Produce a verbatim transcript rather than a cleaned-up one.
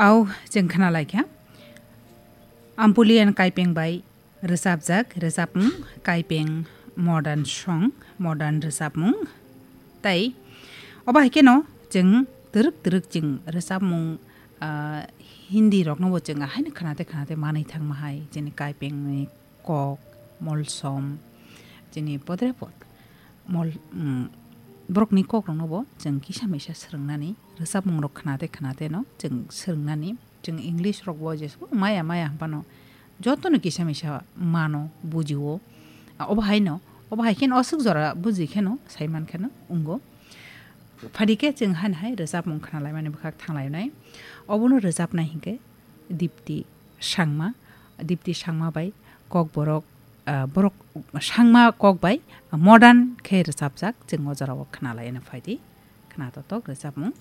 Au, chwng khna lai kha. Ampulian Kaipeng bai rwchapjak rwchapmung, Kaipeng modern song, modern rwchapmung. Tai obo hai kheno chwng twrwk twrwk chwng rwchapmung, ah, Hindi rokno bo chwng ahaino khna tei khna tei manwi thangma hai, chini Kaipeng ni kok, molsom, chini podre pod. Mol, mm, borokni kokrokno bo chwng kisa misa swrwngnani, rwchapmungrok khna tei khna tei no chwng swrwngnani. Chwng English rok bo jesbo maya maya hwnphano jotono kisa misa mano, bujio. A, obo haino, obo hai kheno aswk jora buji kheno, sai man kheno wngo. Phadi khe chwng han hai rwchapmung khna laimani bwkhak thang lainai. Obono rwchapnai hinkhe Dipti Sangma, Dipti Sangma bai Kokborok, ah, borok Sangma kok bai modern khe rwchapjak, chwng o jorao khna laina phaidi. Khna totok rwchapmung.